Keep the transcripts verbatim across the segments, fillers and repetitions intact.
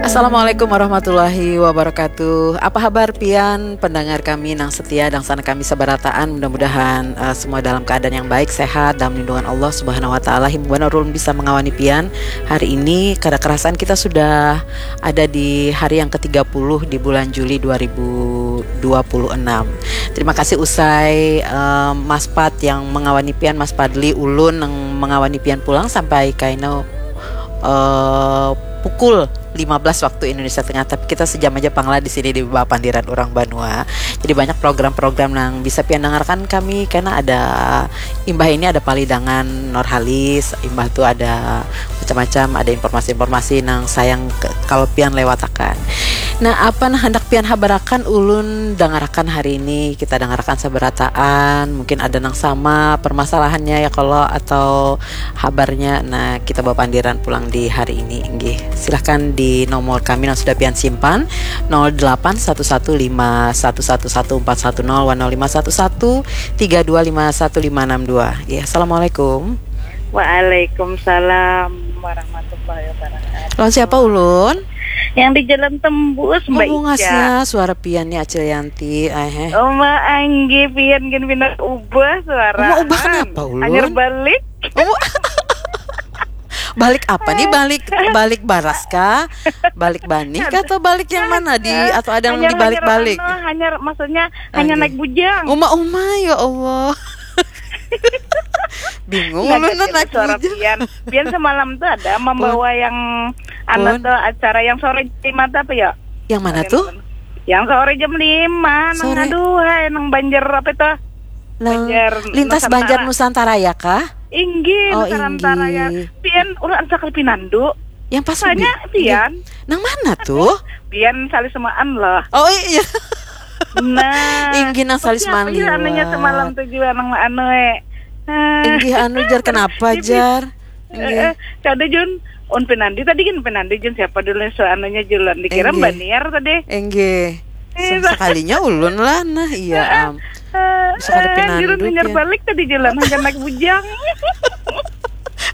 Assalamualaikum warahmatullahi wabarakatuh. Apa habar pian pendengar kami nang setia dan sana kami sabarataan? Mudah-mudahan uh, semua dalam keadaan yang baik, sehat dalam lindungan Allah Subhanahu wa taala. Himpuan ulun bisa mengawani pian hari ini. Kada kerasan kita sudah ada di hari yang ketiga puluh di bulan Juli dua ribu dua puluh enam. Terima kasih usai uh, Mas Pat yang mengawani pian, Mas Padli, ulun yang mengawani pian pulang sampai kaino uh, pukul lima belas waktu Indonesia Tengah, tapi kita sejam aja panglah di sini di Bapandiran Urang Banua. Jadi banyak program-program yang bisa pian dengarkan kami karena ada imbah ini ada Palidangan Norhalis, imbah tu ada macam-macam, ada informasi-informasi nang sayang ke, kalau pian lewatakan. Nah, apa nah hendak pian habarakan ulun dangarakan hari ini, kita dangarakan sabarataan, mungkin ada nang sama permasalahannya ya kalau atau habarnya. Nah, kita bapandiran pulang di hari ini. Inggih, silahkan di nomor kami yang sudah pian simpan, nol delapan satu satu lima satu satu satu empat satu nol wan nol lima satu satu tiga dua lima satu lima enam dua. Ya, assalamualaikum. Waalaikumsalam warahmatullahi wabarakatuh. Lawan siapa ulun? Yang di Jalan Tembus, Mbak Ica. Bungasnya suara pian nih, Acil Yanti. Eh, eh. Oh, Mbak Anggi, pian gin pindah ubah suara. Mau ubah kenapa ulun? Hanyar balik. Oh. Balik apa nih? Balik balik baras kah? Balik banih kah atau balik yang mana di atau ada yang dibalik-balik? Hanyar, hanyar maksudnya hanya naik bujang. Uma uma, ya Allah. Bingung ulun naik bujang. Pian, pian semalam tuh ada membawa yang anu tuh acara yang sore jam lima apa ya? Yang mana tuh? Yang sore jam lima. Nang aduh, hai, nang Banjar apa itu? Nang Banjar Lintas Nusantara. Banjar Nusantara ya kah? Inggih, oh, Nusantara ya. Pian, ulah ansakal pinandu. Yang pas tanya pian. Nang mana tuh? Pian salisemaan lah. Oh iya. Nah, inggih nang salisman liwat. Anaknya semalam tuh juga nang anu eh. Inggih anu jar kenapa jar? Inggih. Eh, kada Jun, un penandi tadi kan penandi Jun siapa dulu so anunya Julan dikira Mbak Niar tadi. Inggih. Sekalinya ulun lah nah iya am. Bisa kada penandu. Jun balik tadi Julan hanya naik bujang.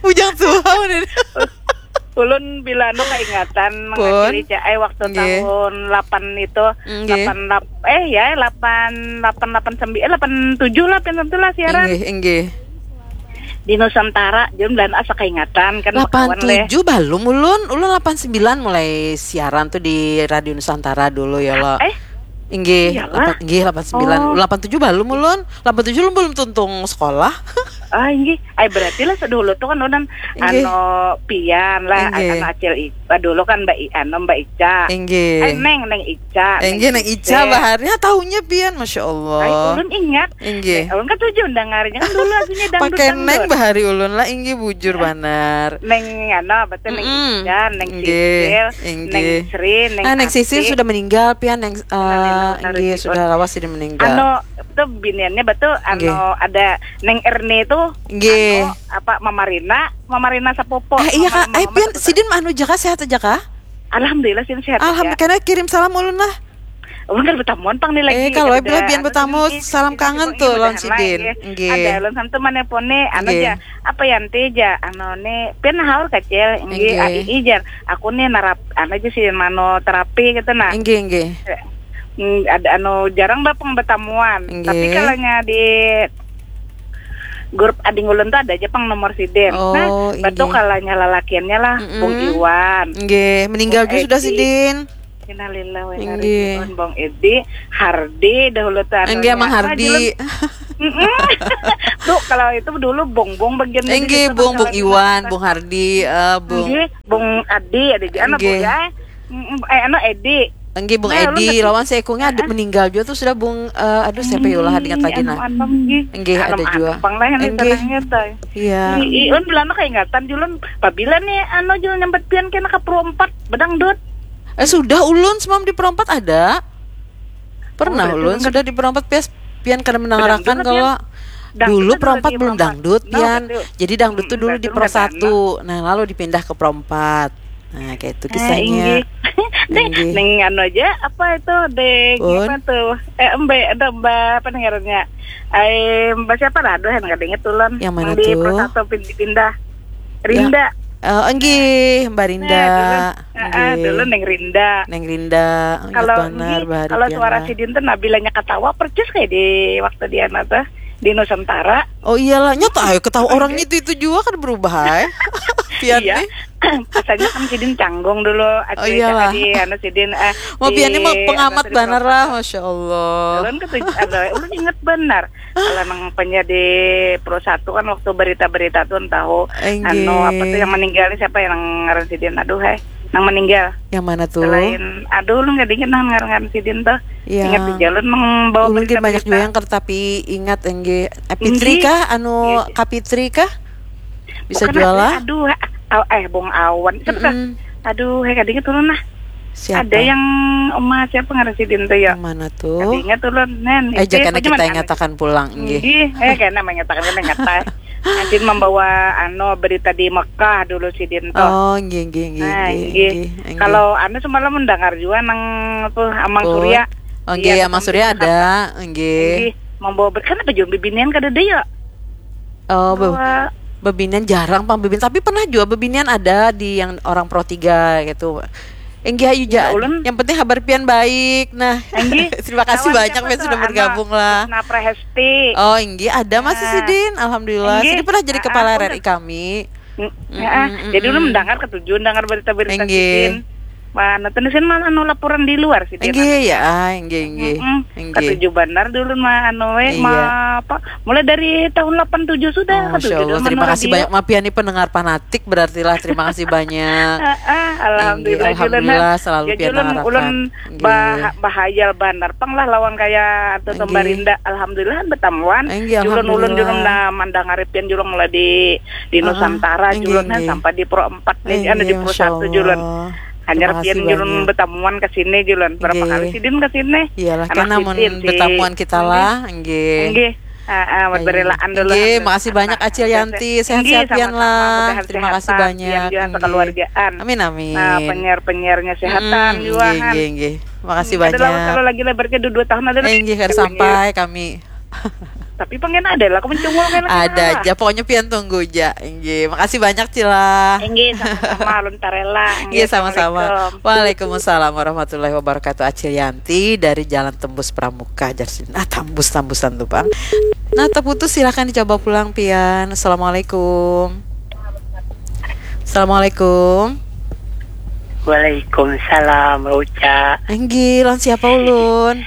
Bujang tuh. Ulun bila anu kaingatan mengacili cai waktu tahun lapan itu, lapan lap eh ya lapan lapan lapan sembilan eh lapan tujuh lah pian tentu lah siaran. Inggih, inggih. Di Nusantara, jadi bulan asa kaingatan kan. Lapan tujuh balum ulun, ulun lapan sembilan mulai siaran tuh di Radio Nusantara dulu ya lo. Eh, Inggih, lapan, inggih lapan sembilan. Lapan tujuh balum ulun. Lapan tujuh ulun belum tuntung sekolah. Ah, inggih. Ay, berarti lah sedulu tuh kan ulun anu pian lah, anu acil Ica dulu kan Mbak I, anu Mbak Ica. Inggih. Ay, Neng, Neng Ica. Inggih, Neng Ica bahari. Ha, tahunya pian, Masya Allah. Ay, ulun ingat. Inggih. Ulun kan tujuh undang harinya kan dulu lagunya dangdut. Pakai Neng bahari ulun lah, inggih bujur banar. Neng anu, betul Neng Ica, Neng Sisil, Neng Sri, Neng Neng Sisil sudah meninggal pian, Neng Inggih, sudah lawas jadi meninggal. Anu, tuh biniannya betul anu ada Neng Erni tuh. Inggih. Anu, apa Mamarina, Mamarina Sapopo. Eh, iya kak, eh pian sidin anu jaka sehat aja kak? Alhamdulillah sidin sehat. Alhamdulillah, karena kirim salam ulun lah. Ulun kada betamuan pang nih lagi. Eh, kalau bila pian betamu salam kangen tuh lawan sidin. Inggih. Ada ulun sama teman pone anu aja. Apa ya nanti aja anu nih pian haur kecil. Inggih, ai jar. Aku nih narap anu aja sih mano terapi gitu nah. Inggih, inggih. Hmm, ada anu jarang bapak betamuan. Tapi kalanya di grup ading ulun tuh ada aja pang nomor sidin. Oh, nah, betul kalanya lalakiannya lah, Bung Iwan. Inggih, meninggal juga sudah sidin. Innalillahi wa inna ilaihi raji'un. Bung Edi, Hardi dahulu tuh. Enggak, Mang Hardi. Tuh kalau itu dulu Bung Bung bagian Enggak, Bung Bung Iwan, Bung Hardi, uh, Bung Enggak, Bung Adi ada juga anak Bung ya. Eh, anu Edi. Enggak, Bung nah, Edi lawan seikungnya ada meninggal juga tuh sudah Bung uh, aduh siapa ya ulah ingat lagi nah. Enggak ada juga. Enggak. Iya. Iun bilang kayak ingatan julun pabila nih anu julun nyambat pian kena ke Pro empat bedangdut. Eh sudah ulun semam di perompat ada. Pernah oh, ulun sudah di perompat pias pian kada menangarakan kalau dulu perompat belum dangdut pian. Jadi dangdut tuh dulu di pro satu. Nah, lalu dipindah ke pro empat. Nah, kayak itu kisahnya. Eh, deh, neng anu aja apa itu deh apa tuh eh embe ada embe apa nih ngarannya eh embe siapa lah aduh yang nggak inget ulun yang mana di tuh pro satu pindah Rinda. Ya. Uh, enggih, Mbak Rinda. Nah, Ah, dulu Neng Rinda. Neng Rinda, ingat kalau banar, ini, bahari kalau pian suara lah. Sidin tuh Nabilanya ketawa persis kayak di waktu di anu tuh, di Nusantara. Oh iyalah, nyata ayo ketawa orang itu, itu juga kan berubah, eh. Pian iya. Nih. Rasanya kan Sidin canggung dulu. Oh iyalah. Di anu Sidin, eh, mau pian ini mau pengamat banar lah, masya Allah. Ulun ketujuh, ulun ingat benar. Kalau nang penyiar di Pro Satu kan waktu berita-berita tuh tahu anu apa tuh yang meninggal siapa yang ngaran Sidin, aduh heh, nang meninggal. Yang mana tuh? Selain aduh lu nggak dingin nah ngaran Sidin tuh. Iya. Ingat di jalan membawa ulun berita, banyak juga yang kertapi ingat enggih. Eh, Fitri kah anu Kak Fitri kah? Bisa jual lah. Aduh, eh bong awan. Aduh, heh kadingin turun lah. Siapa? Ada yang emas siapa ngaran Sidin tuh ya? Yang mana tuh? Tadi ingat ulun, Nen. Eh, jangan kita ingatakan pulang, nggih. Nggih, eh kena mengatakan kena ngata. Sidin membawa anu berita di Mekah dulu Sidin tuh. Oh, nggih nggih nggih. Nah, nggih. Kalau anu semalam mendengar juga nang tuh Amang Surya. Oh, nggih, Amang Surya ada, nggih. Nggih, membawa berita kan apa juga bibinian kada ada ya? Oh, be bebinian jarang pang bebinian, tapi pernah juga bebinian ada di yang orang Pro tiga gitu. Enggih ayu ja. Yang penting habar pian baik. Nah, terima kasih banyak pian sudah bergabung lah. Nah, Prahesti. Oh, enggih ada masih Sidin. Alhamdulillah. Sidin pernah jadi kepala R R I kami. Jadi ulun mendengar ketujuh mendengar berita-berita Sidin. Mana tuh sih mana anu laporan di luar sih dia. Enggih ya, enggih enggih. Ketujuh benar dulu mah anu eh mah apa mulai dari tahun delapan tujuh sudah. Oh, masya Allah, terima kasih banyak. Maaf ya nih pendengar fanatik berarti lah. Terima kasih banyak. Alhamdulillah, alhamdulillah selalu pian arahkan. Ulun bahayal banar pang lah lawan kaya tuh Mbak Rinda. Alhamdulillah betamuan. Julun ulun julun nah mandangari pian julun mulai di di Nusantara julun nah sampai di Pro empat nih, anu di Pro satu julun. Hanyar pian julun betamuan ke sini julun. Berapa kali sidin ke sini? Iyalah kan namun betamuan kita lah, nggih. Nggih. Heeh, buat berelaan dulu. Nggih, makasih banyak Acil Yanti, sehat-sehat pian lah. Terima kasih banyak. Keluargaan. Amin amin. Nah, penyiar-penyiarnya sehatan juga kan. Nggih, nggih. Makasih banyak. Kalau lagi lebarnya dua tahun ada. Eh, nggih, kada sampai kami. Tapi pengen ada lah, aku mencungul kan. Ada aja, pokoknya pian tunggu aja. Nggih, makasih banyak Cila. Nggih, sama-sama Alun Tarela. Nggih, sama-sama. Waalaikumsalam warahmatullahi wabarakatuh. Acil Yanti dari Jalan Tembus Pramuka, jar sidin. Ah, tambus-tambusan tuh, Bang. Nah, terputus, silahkan dicoba pulang pian. Assalamualaikum. Assalamualaikum. Waalaikumsalam, Uca. Nggih, lawan siapa ulun?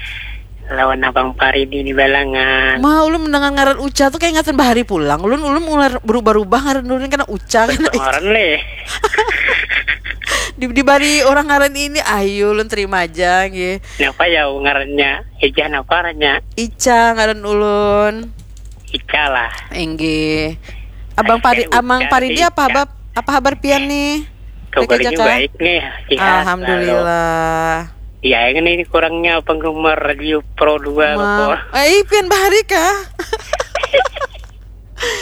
Lawan Abang Paridi di Balangan. Ma, ulun mendengar ngaran Uca tuh kayak ingatan bahari pulang. Ulun ulun mulai berubah-ubah ngaran ulun kena Uca kena Uca. Ngaran leh. Di, dibari orang ngaran ini, ayo ulun terima aja nggih. Napa ya ngarannya? Ijah napa ngarannya? Ica ngaran ulun. Ica lah. Inggih. Abang Pari, Amang Paridi apa habar, apa habar pian nih? Kabarnya baik nih, sehat. Alhamdulillah. Ya, ini kurangnya penggemar Radio Pro dua loh. Eh, pian bahari kah?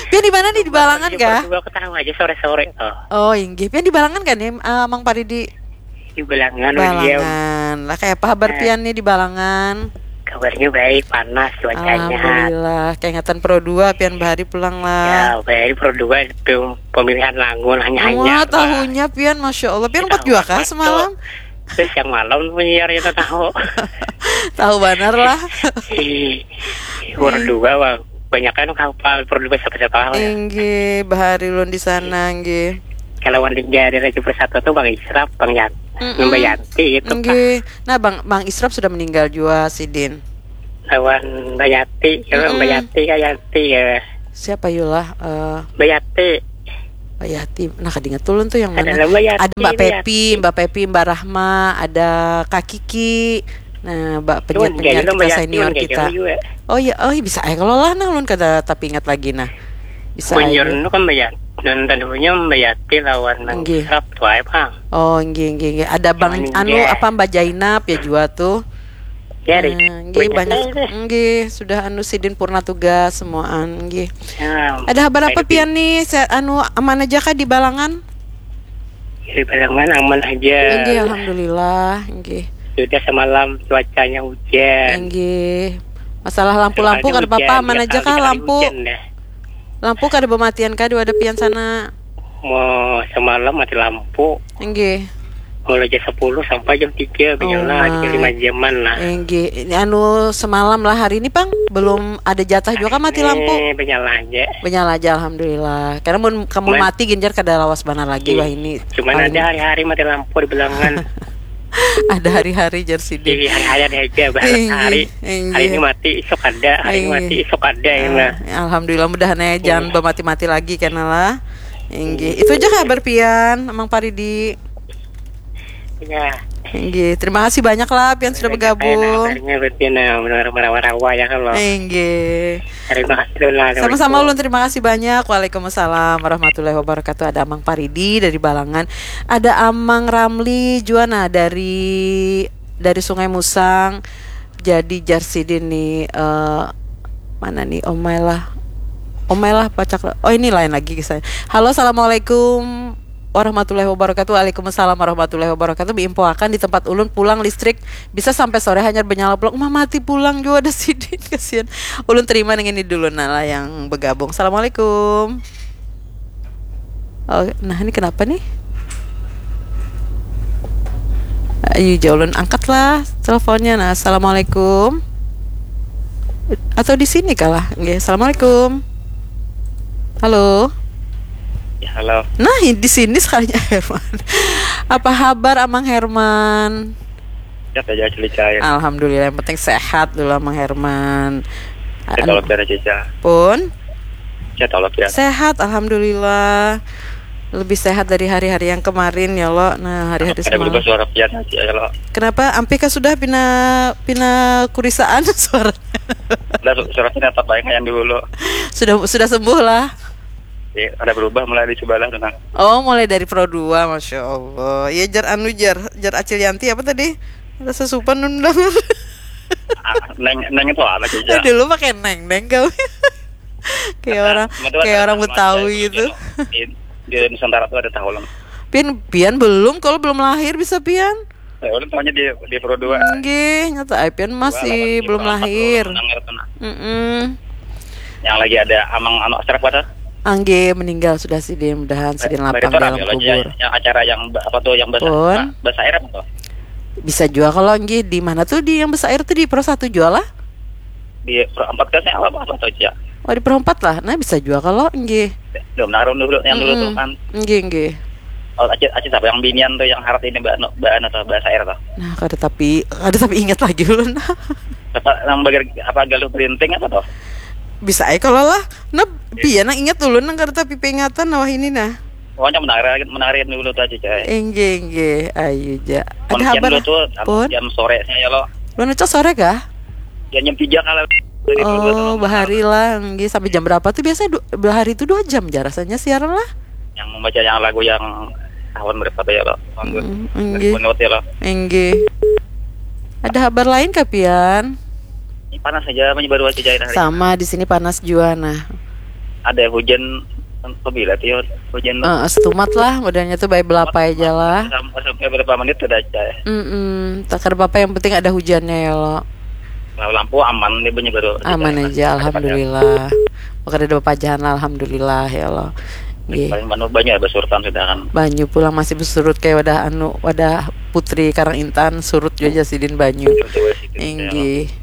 Pian di mana nih, di Balangan kah? Pro dua ketawa aja sore-sore tuh. Oh, inggih. Pian di Balangan kan nih, eh, Mang Paridi? Di Balangan. Balangan. Lah, kayak apa habar pian nih di Balangan? Kabarnya baik, panas cuacanya. Alhamdulillah. Kayak ingatan Pro dua pian bahari pulang lah. Ya, bahari Pro dua pemilihan lagu hanya-hanya. Wah, tahunya pian, masya Allah. Pian empat juga kah semalam? Terus yang malam penyiarnya tuh tahu. Tahu benar lah. Berdua bang, banyak kan kapal berdua siapa-siapa lah. Inggih, bahari ulun di sana nggih. Kalau wan di daerah Raja Persatu tuh Bang Israf, Bang Yan, Mbak Yanti itu. Nggih. Nah, Bang Bang Israf sudah meninggal juga sidin. Lawan Mbak Yanti, ya Mbak Yanti kayak Yanti ya. Siapa yulah? Eh, Mbak Yanti. Mbak Yati, nah kadingat ulun tuh yang mana? Ada Mbak Yati, ada Mbak Pepi, Mbak Pepi, Mbak Rahma, ada Kak Kiki. Nah, Mbak penyiar-penyiar kita, senior kita. Oh iya, oh bisa aja kalau lah nah ulun kada tapi ingat lagi nah. Bisa aja. Kan Mbak Yati, dan tadinya Mbak Yati lawan Bang Israp tuh aja pang. Oh, nggih nggih nggih. Ada Bang anu apa Mbak Jainab ya juga tuh. Ya, nggih banyak. Nggih, sudah anu sidin purna tugas semuaan nggih. Ada habar apa pian nih? Sehat anu aman aja kah di Balangan? Di Balangan aman aja. Nggih, alhamdulillah. Nggih. Sudah semalam cuacanya hujan. Nggih. Masalah lampu-lampu kada apa-apa, aman aja kah lampu? Lampu kada bematian kah di wadah pian sana? Mau semalam mati lampu. Nggih. Mulai jam sepuluh sampai jam tiga, oh, banyaklah, lima jaman lah. Enggih. Ini anu semalam lah, hari ini pang belum ada jatah juga mati lampu. Ini banyaklah aja. Banyaklah aja, alhamdulillah. Karena mun kamu mati ginjar kada lawas banar lagi wah ini. Cuman ada hari-hari mati lampu di belangan. Ada hari-hari jar sidin. Jadi hari-hari ada aja, hari, hari ini mati, isuk ada, hari ini mati, isuk ada, ya, nah. Alhamdulillah, mudahan ya jangan bamati-mati lagi kena lah. Inggih. Itu aja kabar pian, Amang Paridi. Ya. Inggih. Terima kasih banyak lah pian sudah bergabung. Akhirnya berarti nah, benar merawa-rawa ya kalau. Inggih. Terima kasih lah. Sama-sama ulun, terima kasih banyak. Waalaikumsalam warahmatullahi wabarakatuh. Ada Amang Paridi dari Balangan. Ada Amang Ramli jua nah dari dari Sungai Musang. Jadi jar sidin nih, eh, mana nih, omai lah. Omai lah pacak. Oh, ini lain lagi kisahnya. Halo, assalamualaikum warahmatullahi wabarakatuh. Waalaikumsalam warahmatullahi wabarakatuh. Diinfoakan di tempat ulun pulang listrik bisa sampai sore hanyar benyala pulang. Umah mati pulang juga ada sidin, kasihan. Ulun terima dengan ini dulu nah lah yang bergabung. Assalamualaikum. Oh, nah ini kenapa nih? Ayo, jauh ulun angkat lah teleponnya. Nah, assalamualaikum. Atau di sini kalah? Nggih, assalamualaikum. Halo. Ya, halo. Nah, di sini sekalinya Herman. Apa kabar Amang Herman? Sehat aja, Cili Cair. Alhamdulillah, yang penting sehat dulu, Amang Herman. Sehat, anu, Allah, biar aja, Ca. Pun? Sehat, Allah, biar. Sehat, alhamdulillah. Lebih sehat dari hari-hari yang kemarin ya lo. Nah, hari-hari semalam. Ada berubah suara pian aja ya lo. Kenapa? Ampih kah sudah pina pina kurisaan suara? Udah su- suara pian tetap baik yang dulu. Sudah sudah sembuh lah. Ya, ada berubah mulai di sebelah tuh nah. Oh, mulai dari Pro dua, masya Allah. Ya jar anu jar jar Acil Yanti apa tadi? Rasa supan nun dengar. Ah, neng neng itu apa sih? Dulu pakai neng neng kau. Kayak orang kayak orang Betawi gitu. Di, di Nusantara tuh ada tahu lah. Pian pian belum, kalau belum lahir bisa pian. Ya, orang tahunya di di Pro dua. Nggih, nyata ai pian masih belum lahir. Heeh. Yang lagi ada Amang anu Astrak pada? Angge meninggal sudah sidin, mudahan sidin lapang dalam kubur. Yang acara yang apa tuh yang bahasa bahasa Arab tuh? Bisa juga kalau nggih di mana tuh di yang bahasa Arab tuh di Pro satu jual lah? Di Pro empat kan apa apa tuh ya? Oh, di Pro empat lah. Nah, bisa juga kalau nggih. Belum naruh dulu yang dulu tuh kan. Nggih, nggih. Oh, aja aja siapa yang binian tuh yang harap ini mbak mbak anu tuh bahasa Arab tuh. Nah, kada tapi kada tapi ingat lagi ulun. Apa nang bagian apa galuh printing apa tuh? Bisa aja kalau lah. Nah, pian nang ingat ulun nang kada tapi peringatan nah wah ini nah. Pokoknya menarik menarik dulu tuh aja coy. Inggih inggih, ayu ja. Ada habar dulu tuh pun? Jam sore saya lo. Lu nucok sore kah? Ya jam tiga kalau dari dulu tuh. Oh, bahari lah. Inggih, sampai jam berapa tuh biasanya? Du- bahari itu dua jam ja rasanya siaran lah. Yang membaca yang lagu yang tahun berapa tuh ya lo? Tahun dua ribu ya lo. Inggih. Ada habar lain kah pian? Ini panas aja, apa baru aja cair hari. Sama di sini panas jua nah. Ada hujan pabila tuh ya, hujan tuh. Eh, setumat lah, modelnya tuh baik belapai aja lah. Sampai, sampai berapa menit sudah cair. Mm-mm. Tak ada apa-apa, yang penting ada hujannya ya lo. Kalau lampu aman nih bunyi baru. Aman aja, alhamdulillah. Bukan ada apa-apa lah, alhamdulillah ya lo. Nggih. Paling banyak banyak ada surtan sudah kan. Banyu pulang masih bersurut kayak wadah anu, wadah Putri Karang Intan, surut juga sidin banyu. Inggih.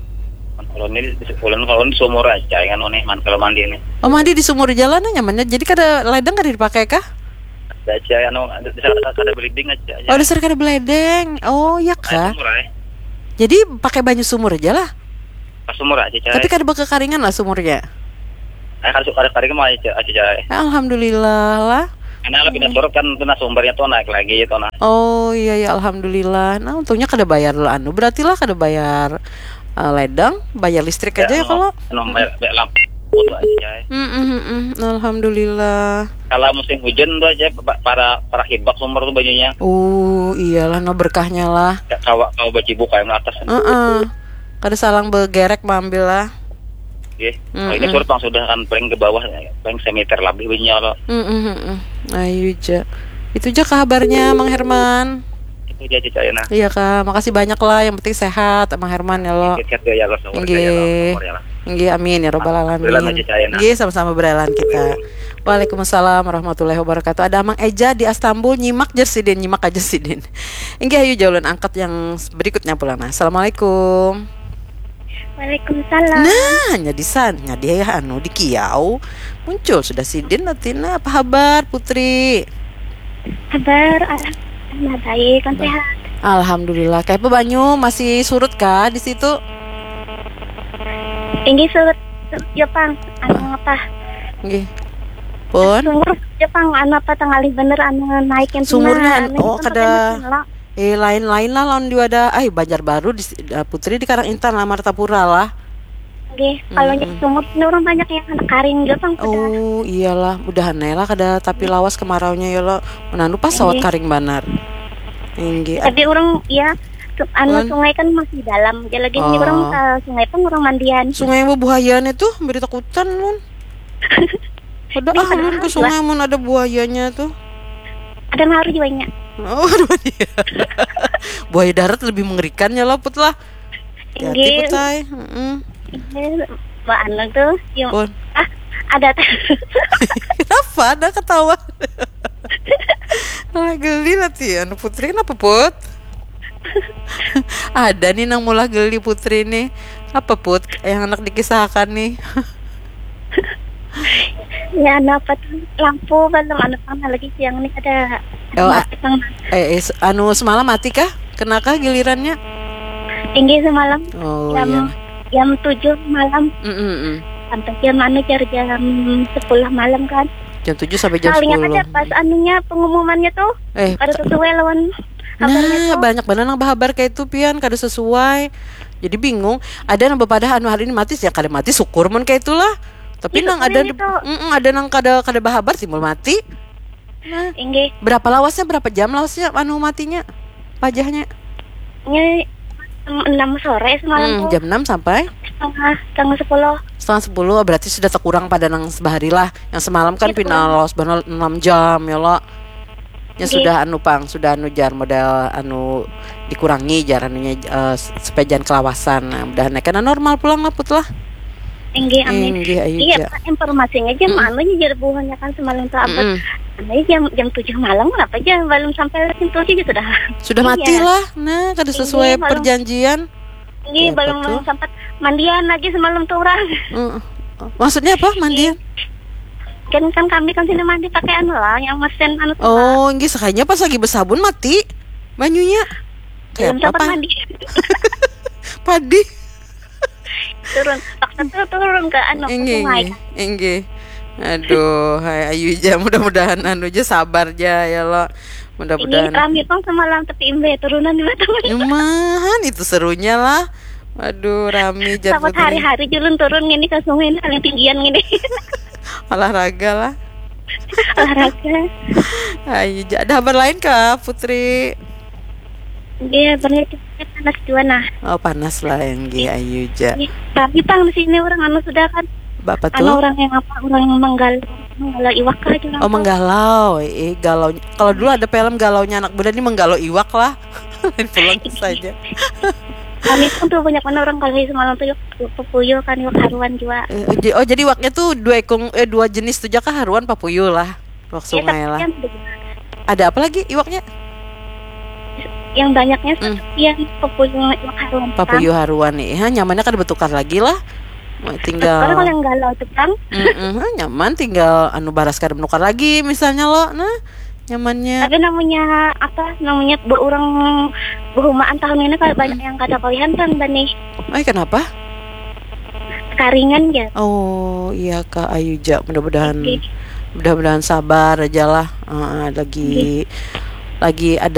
Kalau ini di sekolah kalau ini sumur aja kan ini man kalau mandi ini. Oh, mandi di sumur jalan nyamannya. Jadi kada ledeng kada dipakai kah? Ada aja anu ada ada beli ding aja. Oh, dasar kada beledeng. Oh, ya kah? Sumur aja. Jadi pakai banyu sumur aja lah. Pas sumur aja, coy. Tapi kada bakakaringan lah sumurnya. Eh, kada kada kada mau aja aja, coy. Alhamdulillah lah. Karena lebih hmm. Surut kan itu nah sumbernya tuh naik lagi itu nah. Oh iya ya alhamdulillah. Nah untungnya kada bayar lo anu berarti lah kada bayar uh, ledang, bayar listrik ya, aja ya kalau. Anu bayar, bayar lampu tuh aja, coy. Mm -mm, mm -mm. Alhamdulillah. Kalau musim hujan tuh aja para para hibak sumber tuh banyunya. Oh iyalah no berkahnya lah. Kawa kawa bacibuk kayak atas. Uh -uh. Kada salang begerek maambil lah. Nggih. Mm -mm. Oh, ini surut pang sudah kan paling ke bawah paling semeter lebih bunyinya lo. Mm -mm. Ayo ja. Itu ja kabarnya Mang Herman. Itu ja cicayana. Iya kak, makasih banyak lah. Yang penting sehat Mang Herman ya lo. Sehat ya lo. Nggih. Nggih, amin ya robbal alamin. Alhamdulillah, Mas Ida, ya, nah. Nggih, sama-sama berlain kita. Waalaikumsalam warahmatullahi wabarakatuh. Ada Amang Eja di Astambul, nyimak jer sidin, nyimak aja sidin. Inggih, ayo jalan angkat yang berikutnya pula, nah. Assalamualaikum. Waalaikumsalam. Nah, nyadi san, nyadi ya anu di kiau. Muncul sudah sidin, Latina. Apa habar, Putri? Habar, alhamdulillah baik, kan sehat. Alhamdulillah. Kayak apa banyu, masih surut kah di situ? Tinggi surut Jepang, anu apa? Nggih. Pun Sumur Jepang, anu apa, tengalih bener, anu naik yang Sumurnya, tinggi, anu, oh, tempat kada yang tinggi lah. Eh, lain-lain lah lawan di wadah, ay, Banjarbaru di, eh, Putri di Karang Intan lah, Martapura lah. Oke, kalau Mm-mm. di sumur ini orang banyak yang anak karing Jepang sudah. Oh, iyalah, mudahan aja lah kada tapi lawas kemaraunya ya lo. Menandu pas sawat Iya. Karing banar. Inggih. Tapi orang ya su- anu Wan. Sungai kan masih dalam. Jadi lagi ini Oh. orang ke sungai pun orang mandian. Sungai yang bebuayan itu beri takutan, Lun. Ada Ini ah, Lun, padahal ke sungai mun ada buayanya tuh. Ada maru juanya. Oh, aduh, iya. Buaya darat lebih mengerikan ya lo, Put lah. Hati-hati, Inggih. Put, ay. Mm-mm. Ini Mbak Anu tuh, yang Pun. Ah, ada. Kenapa ada ketawa? Ah, geli nanti anu Putri, kenapa, Put? Ada nih nang mulah geli Putri nih. Apa, Put, yang anak dikisahkan nih? Ya, anu apa tuh, lampu belum, anu, pang lagi siang nih ada. Oh, a- Mati pang. Eh, eh, se- anu semalam mati kah? Kenakah gilirannya? Tinggi semalam Oh, jam iya. Jam tujuh malam Mm-mm-mm. sampai jam anu jar jam sepuluh malam kan. Jam tujuh sampai jam Soalnya sepuluh. Ada pas anunya, pengumumannya tuh Eh, ada sesuai lawan nah, kabarnya tuh. Banyak benar nang bahabar kayak itu, Pian, kada sesuai. Jadi bingung. Ada nang bepadah anu hari ini mati, ya kada mati, syukur mun kayak itulah. Tapi Itu nang kan ada itu. Mm-mm, ada nang kada kada bahabar timbul mati. Nah, Inggih. Berapa lawasnya, berapa jam lawasnya anu matinya? Pajahnya? Ini jam enam sore semalam Hmm, tuh. Jam enam sampai Setengah setengah sepuluh. Setengah sepuluh, berarti sudah terkurang pada nang sebahari lah. Yang semalam kan Iya, pina kurang. Lawas banget enam jam ya lo. Ya Iya. Sudah anu pang, sudah anu jar modal anu dikurangi jar anunya eh, supaya jangan kelawasan. Nah, mudahan naik kena normal pulang lah, Put lah. Inggih, amin. Inggih, ayu Iya, ja. Pak, informasinya aja Mm-mm. Anu aja jar buhannya kan semalam tuh abad. Mm-mm. Anu aja jam jam tujuh malam kenapa aja belum sampai jam tujuh aja sudah. Sudah mati Iya. Lah. Nah, kada sesuai Iya, malam. Perjanjian. Ini Kayak apa belum tuh? Sempat mandian lagi semalam tuh orang. Mm. Maksudnya apa? Mandian? Kan kan kami kan sini mandi pakai anu lah, yang mesin anu tuh lah. Oh, inggih, sakalinya pas lagi bersabun mati banyunya. Belum Kayak sempat apa? Mandi. Padi. Turun, paksa tuh turun ke anu ke Inggih, sungai. Inggih. Aduh, hai ayu ja, mudah-mudahan anu ja sabar ja ya lo. Ini Mudah-mudahan. Rami pang semalam tapi imbe turunan di Batam. Lumayan itu serunya lah. Aduh, rami ja, Selamat Putri. Hari-hari julun turun gini ke sungai ini paling tinggian gini. Olahraga lah. Olahraga. Ayu ja. Ada kabar lain kah, Putri? Iya, berarti panas juga nah. Oh, panas lah, inggih, ayu ja. Iya, tapi pang di sini orang anu sudah kan. Bapak Anu tuh? Orang yang apa? Orang yang menggal menggalau iwak kah aja. Oh, menggalau. Eh, galau. Kalau dulu ada film galaunya anak muda, ini menggalau iwak lah. Lain pulang saja. Kami pun tuh banyak mana orang kalau semalam tuh iwak papuyu kan, iwak haruan juga. Eh, j- oh, jadi iwaknya tuh dua ekong, eh, dua jenis tuh ja kah, haruan, papuyu lah. Iwak Iya, sungai tapi lah. Kan, Ada apa lagi iwaknya? Yang banyaknya Hmm. Yang papuyu, iwak haruan. Papuyu haruan nih. Ha, nyamannya kada bertukar lagi lah. Tinggal Kalau yang galau tuh kan. Mm-mm, ha, nyaman, tinggal anu baras kada menukar lagi misalnya lo. Nah, nyamannya. Tapi namanya apa? Namanya berurang behumaan tahun ini kalau banyak yang kada koyan kan bani. Ay, kenapa? Karingan ya. Oh, iya kak, ayu ja, mudah-mudahan Oke. Mudah-mudahan sabar aja lah. Ah, lagi lagi ada